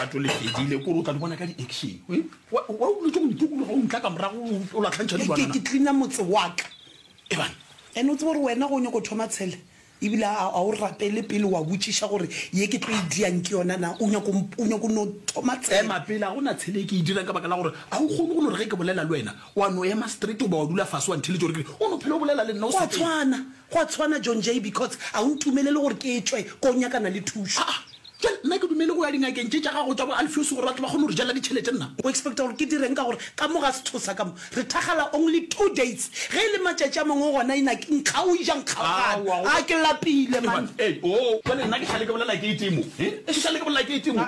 Lerato le fedile, kore o tla di bona ka di-action. Wa wa o dutše go ntukologa o ntla ka morago o latlhantšha Ke dilwana ke na? cleaner motse wa ka. Ebang. And o tsebe gore wena ge o nyako thoma tshele ebile a a o rapele pele wa botšiša gore ye ke tlo e diang ke yona na, o nyako o nyako no thoma tshele. Ema pele, ga go na tshele e ke e dirang ka baka la gore ga o kgone go no re ge ke bolela le wena wa no ema straight goba wa dula fase wa ntheletša gore ke re o no phela o bolela le nna o Go a sa teng. tshwana, go a tshwana John Jay because a o ntumelele gore ke tšwe ko nyakana le thušo. Aa, Bjale, nna ke dumele go ya dingakeng tše tša gago tša bo Alfios gore ba tle ba kgone go re jela ditšhelete nna. O expecta gore ke direng ka gore ka mo ga sethosa ka mo re thakgala only 2 days ge e le matšatši a mangwe gona ina ke nkga o ja nkgaogana Aowa, a ke lapile man. Ei, oo, bjale nna ke šale ke bolela ke e tee mo, he? Ke šale ke bolela ke e tee mo.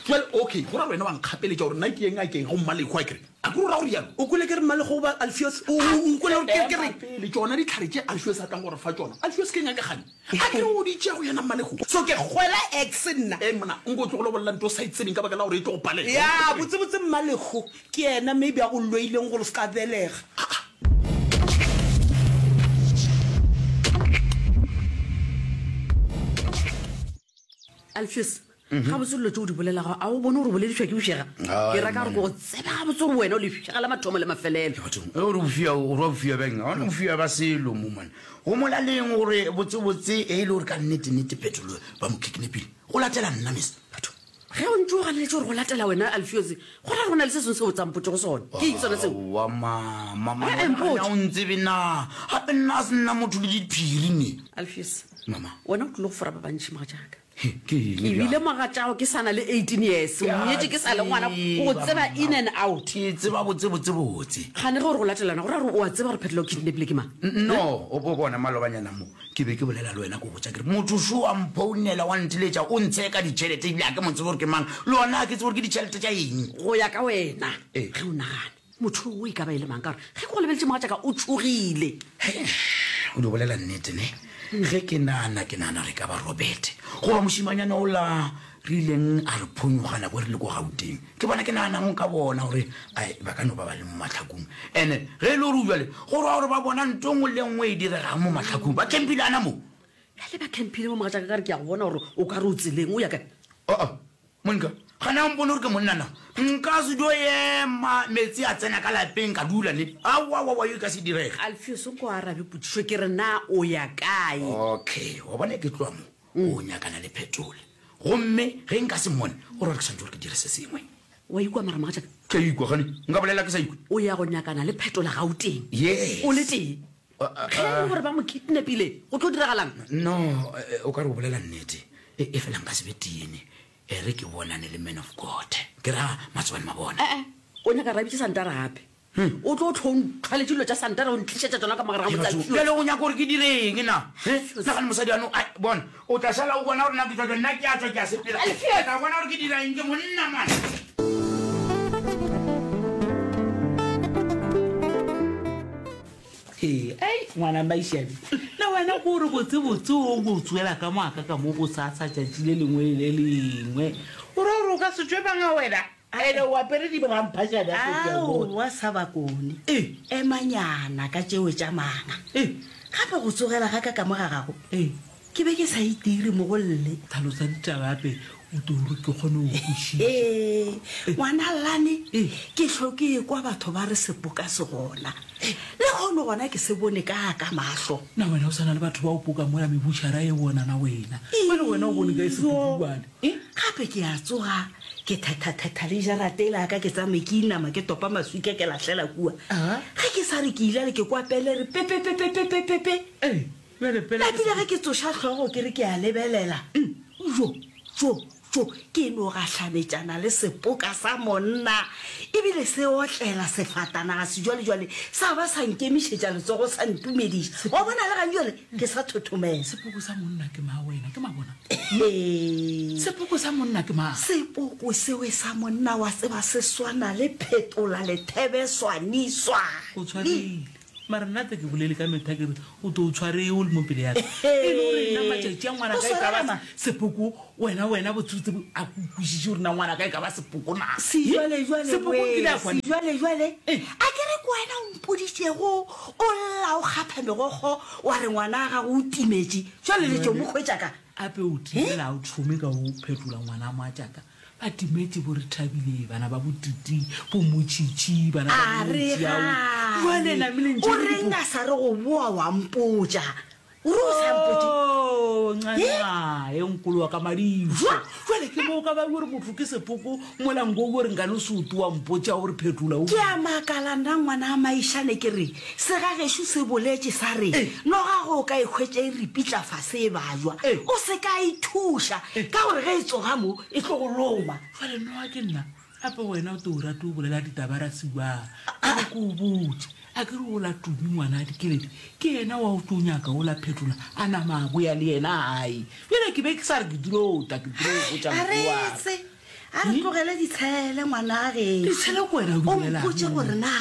Bjale, okay, go ra gore wena wa nkgapeletša gore nna ke ye ngakeng go Mmalekhu, a ke re? A ke re o ra go rialo? O kwele ke re Mmalekhu goba Alfios? O, o, o nkwele gore ke, ke Ema reng? pele, tšona dihlare tše Alfios a tlang go re fa tšona, Alfios ke ngaka kgane? A ke re o di tšea go yena Mmalekhu? So ke kgwela ex nna? Ee monna, nko o tlogele go bolela nto o sa e tsebeng ka baka la gore e tlo go palela. Ya, botsebotse Mmalekhu ke yena maybe a go loileng gore o se ka belega. Aa. Alfios, Gabotse dilo tše o di bolelago, a o bone gore o boledišwa ke bošega? Ke ra ka gore ke go tseba gabotse gore wena o lefšega la mathomo le mafelelo. Bathong, ge o re bofia, o re bofia bjang? Ga gona bofia ba selo mo man. Go molaleng gore botsebotse e le gore ka nnete-nnete Phetolo ba mo kidnapile. Go latela nna miss. Bathong, ge o ntše o ganeletše gore go latela wena Alfios, go ra gore go na le se sengwe se o tsampotšego sona. Ke eng sona seo? Aowa mama, man, Eh, wena mpotše. ga o ntsebe na? Gape nna a se nna motho le diphiri ne. Alfios, Mama. wena o tlile go fora ba bantši mogatšaka. Ke eng Ke bile mogatšago ke sa na le 18 years, o nyetše ke sa le ngwana, o go tseba in and out. Ke tseba botse botse botse. Gane ge o re go latelana, go ra gore o a tseba gore Phetolo o kidnapile ke mang? No, o bo bona malobanyana mo ke be ke bolela le wena ke go botša ke re motho šo wa mphounela wa nteletša o ntsheka ditšhelete ebile ga ke mo tsebe gore ke mang le gona ga ke tsebe gore ke ditšhelete tša eng. Go ya ka wena, Ee. ge o nagana, Motho o e ka ba e le mang? Ka gore ge ke go lebeletše mogatšaka o tšhogile. Hei, o di bolela nnete ne? Ge ke nagana, ke nagana gore e ka ba Robert goba mošemanyana ola re ileng a re phonyokga nako e re le ko Gauteng. Ke bona ke naganang ka bona gore ai ba ka no ba ba le mo mahlakong. And-e ge e le gore o bjale, go ra gore ba bona nto nngwe le nngwe e diregang mo mahlakong. Ba campile ana mo. Bjale ba campile mo mogatšaka ka re ke a go bona gore o ka re o tseleng o ya kae? Aa, Monica, gane a mpone gore ke monna na? Nka se dio ema meetse a tsena ka lapeng ka dula ne. Aowaowa, yo e ka se direge. Alfios, nko arabe potšišo ke re na o ya kae? Okay, wa bona ke tloga mo, o nyakana le Phetole. Gomme ge nka se mmone, go ra gore ke swanetše gore ke dire se sengwe. Wa ikwa mara mogatšaka? Ke a ikwa, gane nka bolela ke sa ikwe? O ya go nyakana le Phetola Gauteng? Yes. O le tee? Ge e le gore ba mo kidnapile, go tlo diragalang? No, o ka re o bolela nnete. E, efela nka se be tene. E re ke bonane le man of God. Ke ra Matsobane Mabona. E-e, o nyaka ra bitše Santara gape. O tlo hlwa o ntlhwaletše dilo tša Santara o ntlišetša tšona ka mo gare ga motse Alfios. Bjale o nyaka gore ke dire eng na? He? Nagane mosadi ano, ai, bona, o tla šala o bona gore na ke tšwa jwang. Nna ke a tšwa ke a sepela. Alfios! O tla bona gore ke dira eng, ke monna man. Ee, ei, ngwana Maišane, le wena ko re botsebotse o go tswela ka moaka ka mo bosasa tšatši le lengwe le le lengwe. O ra gore o ka se tšwe banga wena? Ene o apere diramphašane a ke a bona. Aowa sa bakone. Ee. Emanyana ka tšeo tša manga. Ee. Gape go tsogela ga ka ka mo ga gago. Ee. Ke be ke sa itire mo go lle. Tlhalosa ditaba gape o tlo gore ke kgone go kwešiša. Ee, ngwana Llane, Ee. ke hlo ke ekwa batho ba re sepoka se gona. Le kgono gona ke se bone ka a ka mahlo. Na wena o sa na le batho ba o poka mola mebutšhara e bona na wena? Bjale wena o bone kae sepokubane? Ee, gape ke a tsoga ke thethathetha le jarata ela ya ka ke tsamaye ke inama ke topa maswika ke lahlela kua. Ge ke sa re ke ilale ke kwa pele re pepepepepepepe. Ee. Bjale pele ke Napile ge ke tsoša hlogo ke re ke a lebelela, jo, jo, jo, ke no gahlanetšana le sepoka sa monna, ebile se otlela sefatanaga sejwalejwale sa ba sa nkemišetša letsogo sa ntumediša. Wa bona le gantšwale ke sa thothomela. Sepoko sa monna ke mang wena? Ke mabona. Hee. Sepoko sa monna ke mang? Sepoko sewe sa monna wa tseba se swana le phetola lethebe swani swani. O tshwaregile. Mara nna te ke bolele ka metha ke re o to o tshware o le mo pele ya ka. E le gore nna matšatši a ngwana ka e ka ba sepoko wena wena botsebotse a ke kwešiše gore na ngwana ka e ka ba sepoko na. Sejwalejwale Sepoko wee, nkile a kwana. sejwalejwale. A ke re ke wena o mpoditšego o lla o kgapha megokgo wa re ngwana wa gago o timetše, jwale le tšo mo hwetša ka? Ape o timela a o thome ka o phetola ngwana moatšaka. Ba timetše bo Rethabile, bana ba bo Titi, bo Motšhitšhi, bana ba A re bo Motšiao. Jwale gane, namile ntše o le reng dipo. a sa re go boa wa mpotša? O re o sa mpotše? Oh, He? nxa e nkolo wa ka madišo. Jwa? Jwale ke mo o ka ba o re motho ke sepoko mola nko o re nkane o se o wa mpotša o re phetola o. Ke a makala nna ngwana a Maišane ke re segagešo se boletše sa re noga ge o ka e hwetša e ripitla fase e bajwa o se ka e thuša ka gore ge e tsoga mo e tlo go loma. Jwale noga ke nna gape wena o to o rate o bolela ditaba ra siwa a re ke o botše a ke re ola Tumi ngwana a Dikeledi ke yena wa o tlo nyaka ola Phetola a nama a boya le yena gae bjale ke be ke sa re ke dilo ta ke dilo go botša A mokgwa wa ka. retse a re tlogele ditshele ngwana gešo. Ditshele ko wena o di O bolelang? mpotše gore na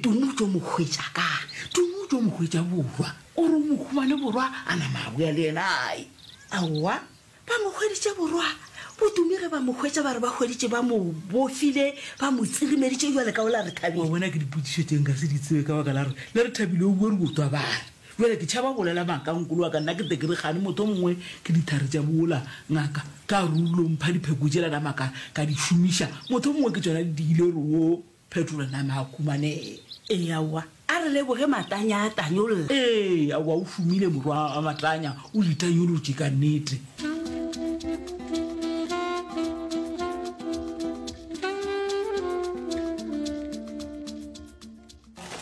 Tumi o tlo mo hwetša kae. Tumi o tlo mo hwetša borwa o re o mo humane borwa a nama a boya le yena gae. Aowa Ba mo hweditše borwa. BoTumi ge ba mo hwetša ba re ba hweditše ba mo bofile, ba mo tsirimeditše bjale ka ola Rethabile. Wa bona ke dipotšišo tše nka se di tsebe ka baka la gore le Rethabile o bua re botwa ba re. Bjale ke tšhaba bolela maaka nkolo wa ka nna ke te ke re kgane motho mongwe ke dithare tša bola ngaka ka re o lo mpha dipheko tšela nama ka ka di šomiša motho mongwe ke tšona di diile gore wo Phetola nama a humanege. Ee, aowa, a re leboge Matanya a tanyolla. Ee, aowa, o humile morwa wa Matanya, o di tanyolotše ka nnete.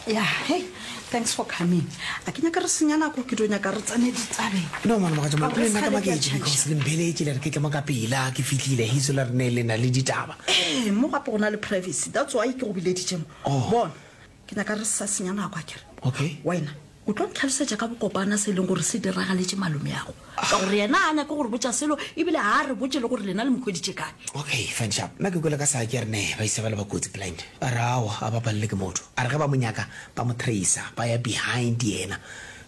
Ya, hey, thanks for coming. A ke nyaka re senya nako, ke dio nyaka re tsene ditabeng. No man, mogatša Ka man, gore le nna ka sekgale ke a maketše because tšhaiša. le mpeletše le re ke tle mo ka pela, ke fihlile heso la re ne le na le ditaba. Ee, mo gape go na le privacy, that's why ke go bileditše mo. Oh. Bona, ke nyaka re sa senya nako akere. Okay. Wena, O tlo ntlhalosetša ka bokopana se e leng gore se diragaletše malomeago, ka gore yena ga a nyake go re botša selo ebile ga a re botše le gore lena le mo hweditše kae. Okay, fine sharp. Nna ke kwele ka Saki a re ne ba isa ba le ba kotsi blind. A re aowa a ba palele ke motho. A re ge ba mo nyaka ba mo tracer ba ya behind yena.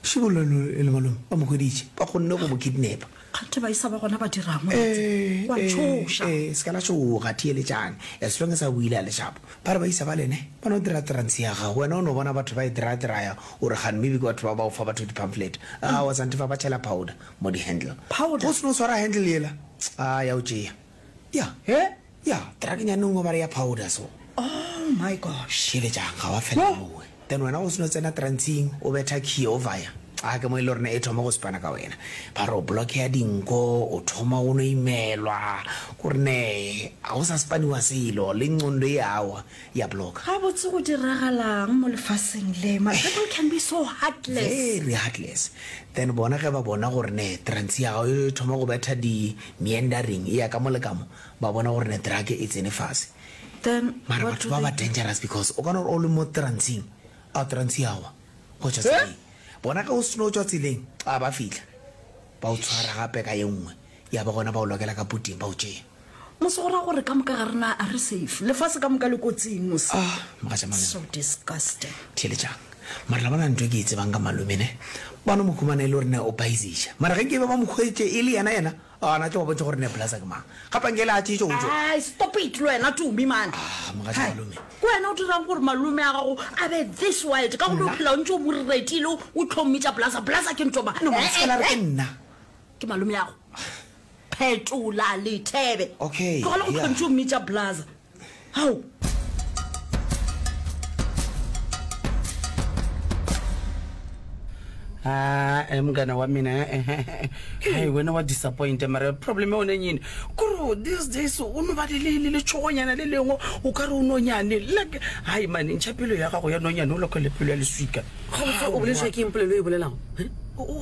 Šibollo e le malome ba mo hweditše ba kgonne go mo kidnapper. Kganthe baisa ba gona ba dirang Eh, wena? Wa eh, tšhoša. eh, se ka la tšhoga, theeletšang. As long as a buile a le sharp. Ba re baisa ba lene ba no dira trance ya gago. Wena o no bona batho ba e dira-diraya o re kgane maybe ke batho ba ba o fa batho di-pamphlet. Aowa sante fa ba tšhela powder mo di-handle. Powder? Go se no swara handle yela, a ya o tšea. Ya. He? Ya, truck-nyane nngwe ba re ya powder so. Oh my gosh. Theeletšang, ga wa felela mowe. Then wena o seno tsena trantsing o betha key o vaya. A ke mo e le gore e thoma go spana ka wena. Ba re o blockea dinko, o thoma go no imelwa, ko re ne ga o sa spaniwa selo, le nqondo e awa ya blocka. Gabotse go diragalang mo lefaseng le? Man, people can be so heartless. Very heartless. Then bona ge ba bona gore ne trantsi ya gago e thoma go betha di meandering e ya ka mo le ka mo, ba bona gore ne drug e tsene fase. Then Mara what batho do ba they ba do? dangerous because o ka no re o le mo trantsing, a trantsi ya wa, go tšwa tseleng. Bona ge o seno tšwa tseleng, a ba fihla ba o tshwara gape ka ye nngwe, ya ba gona ba o lokela ka puting ba o tšea. Mos go ra gore ka moka ga rena a re safe. Lefase ka moka le kotsing mos. Ah, mogatša malome. So disgusting. Theeletšang. Mara la bona ntho e ke e tsebang ka malome ne, ba no mo humana e le gore ne o baiziša. Mara ge nke be ba mo hwetše e le yena yena, A na tlo ba bontšha gore ne Blaza ke mang. Gape nke le a tšetše o tšo. Ai, stop it le wena Tumi man. Ah, mogatša Hai, malome. Ke wena o dirang gore malome a gago a be this wild ka gore o phela o ntse o mo retile o tlo mmitša Blaza. Blaza ke ntho mang? No, mara se ka la re ke nna. Ke malome ya go. Phetola lethebe. Okay, Tlogela go yeah. tlhontse o mmitša Blaza. Hao. Ah, mngana wa mina hai wena wa disappoint mara problem ya one yini kore these days o no ba le le letšhogonyana le lengwe o ka re o nonyane like hai mane ntšha pelo ya gago ya nonyane o lokele pelo ya leswika Gabotse o boledišwa ke eng polelo e bolelago?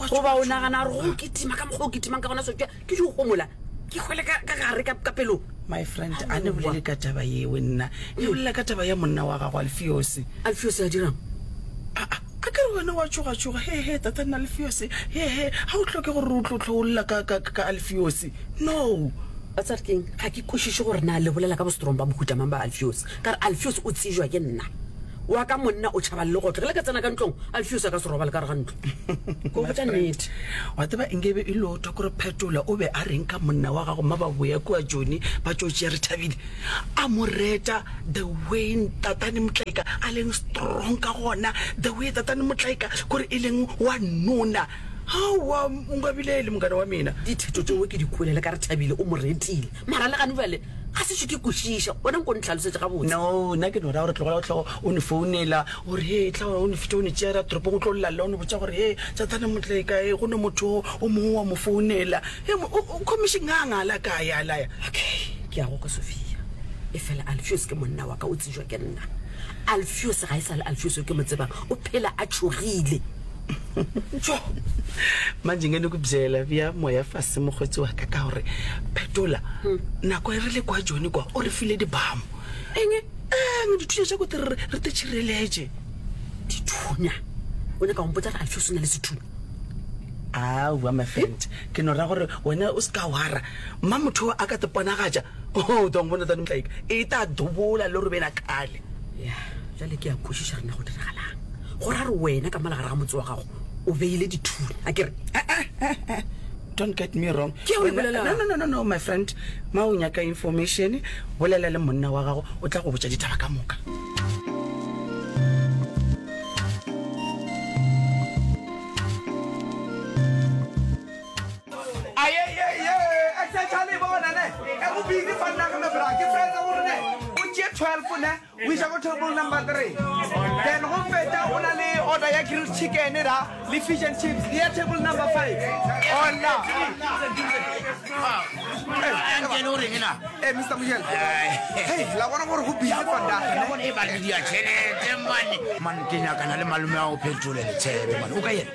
Goba o nagana gore go kitima ka mokgwa o kitimang ka gona sotšwa ke di gomola ke hwele ka ka gare ka ka pelong. My friend a ne bolele ka taba yeo nna ne bolela ka taba ya monna wa gago Alfiose. Alfiose a dirang? Aa a ke re wena wa tšhogatšhoga he he tata nna Alfiose he he ga o hloke gore o tlo tlo o lla ka ka ka Alfiose no. Wa tseba re keng ga ke kwešiše gore na le bolela ka bostrong ba mohuta mang ba Alfiose ka re Alfiose o tsejwa ke nna. Wa ka monna o tšhaba legotlo. Ge le ka tsena ka ntlong, Alfios a ka se robale ka gare ga ntlo. Ke go botša nnete. Wa tseba, nke be e lotwa kore Phetola o be a reng ka monna wa gago mma ba boya kua Joni ba tšo tšea Rethabile. A mo reta the way Tatane Motlaika a leng strong ka gona, the way Tatane Motlaika kore e leng wa nona. Aowa, o nkabilele mongana wa mina. Ditheto tšeo ke di kwele le ka Rethabile o mo retile. Mara le gane bjale. Ga se tšwe ke kwešiša. Wena nko ntlhalosetše gabotse. No, nna ke no ra gore tlogela go hlogo o ne founela o re he tla o ne fetša o ne tšeera toropong o tlo lla o ne botša gore he Sathane motleka e go ne motho o mongwe wa mo founela he o commission a ngala kae a laya. Okay, ke a go kwa Sophia. Efela Alfios ke monna wa ka o tsejwa ke nna. Alfios ga e sa le Alfios yo ke mo tsebang, o phela a tšhogile. Tjo! Manje nge ne ku byela bja moya fase mokgotsi wa ka ka gore Phetola nako e re le kwa Joni kwa o re file dibamo. Eng? Eng dithunya tša kote re re te tšhireletše. Dithunya? O nyaka go mpotša gore Alfios o na le sethunya? Aowa my friend, ke no ra gore wena o se ka wara. Mma motho a ka te ponagatša, o tong bona tane motlaika e ta dobola le gore bena kgale. Ya, jale ke a kwešiša re na go diragalang. Go ra re wena ka mola gare ga motse wa gago o beile dithunya, a ke re? Don't get me wrong. Ke o e bolelang. No, no, no, no, no, my friend. Ma o nyaka information, bolela le monna wa gago, o tla go botša ditaba ka moka. Ayeyeye, exception bona ne. E go busy fa nna ke me bra. Ke fetsa gore ne. O tšee 12 ne. O iša ko table number 3. Then go fetša o na le order ya grilled chicken da le fish and chips. Le ya table number 5. Ona. Ankele o reng na? Eh Mr. Mojela. Hey, la bona gore go busy fa nna. Ya bona e ba le dia tšhelete man. Man ke nyakana le malome a o phetole letshebe man. O ka yena.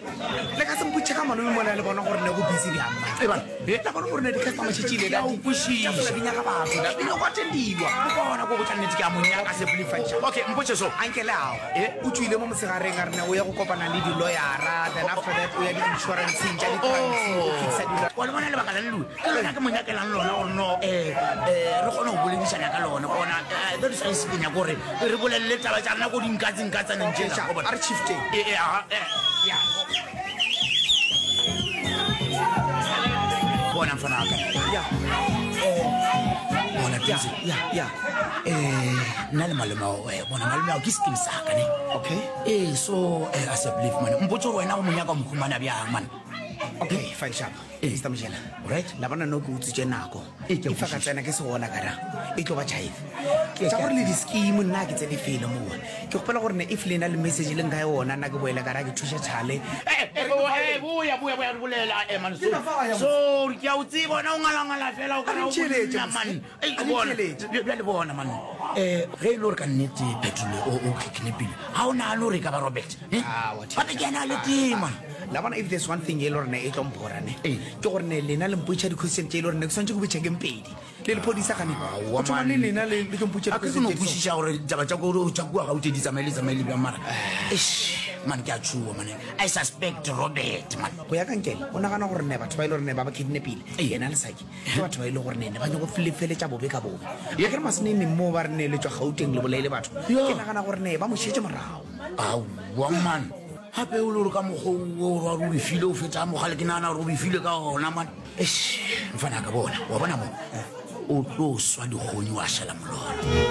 Le ka se mpotše ka malome mola le bona gore ne go busy bjang man. E bana. La bona gore ne di-customer šetšile da kwešiša. Di nyaka batho da di nyaka attendiwa. O bona go botša nnete ke a mo nyaka se believe. Okay, mpotše so. Ankele ao. O tšwile mo motshegareng a re ne o ya go kopana le di-lawyera then after that o ya di-insuranceng tša di-transi go fixa dilo. Wa le bona lebaka la leluwe ke lona ke mo nyakelang lona gore no um re kgone go boledišana ka lona gona that is why se ke nyaka gore re bolelele taba tša rena ko dinkatseng-katsaneng tšela A re shifteng. Ee, aha, eh. Bona mfana wa ka. Ya. Bona Tuzi. Ya, ya. Eh, nna le malome ao, eh, bona malome ao ke skin sa ka ne. Okay. Eh, so eh, I said believe man. Mpotse gore wena o mo nyaka o mo humana bjang man. Okay, fine sharp. Ee. Mr. Mojela. Right. La bona no ke utswitše nako. Ee, ke a If a ka kwešiša. tsena ke se gona kara e tlo ba jive. Ke- Tša ke- gore le di-scheme nna ke tsene felo mowa. Ke kgopela gore ne if le na le message le nka yona nna ke boele kara ke thuša Charlie. Eh, eh, eh, boya boya boya re bolela eh, man Ke na fa ya mos. sorry ke a o tseba wena o ngalangala fela o A kana le o ntheeletše, monna, mos. man Ei, A le bona, ntheeletše. bjale bona man um ge e le gore ka nnete phetolo o o kidnapile ga o nagane gore e ka ba robert eh? Ah, wa gape ke ena a le tee man La bona if there's one thing e le gore ne e tlo mpora ne. Ee. Ke gore ne lena le mpotša di-question tše e le gore ne ke swanetše ke botša ke mpedi. Le lephodisa gane. Aowa, Go thoma man. le lena le le tlo mpotša a ke ke no di-question tše di so. kwešiša gore taba tša ko tša kua gaute di tsamaye le tsamaye le bjang mara eish man ke a tšhoa man i suspect robert man Go ya ka nkele o nagana gore ne batho ba e le gore ne ba ba kidnapile Ee. yena le Saki ke batho ba e le gore ne ne ba nyako feletša bobe ka bobe. A ke re maseneneng moo ba re ne le tšwa Gauteng le bolaile batho. Ya. Ke nagana gore ne ba mo šetše morago. aowa man gape o le gore ka mokgwa o wa o befile o feta mogale ke nagana gore o befile ka gona man eish mfana ka bona wa bona mo o tlo swa dikgonyi wa šala molora.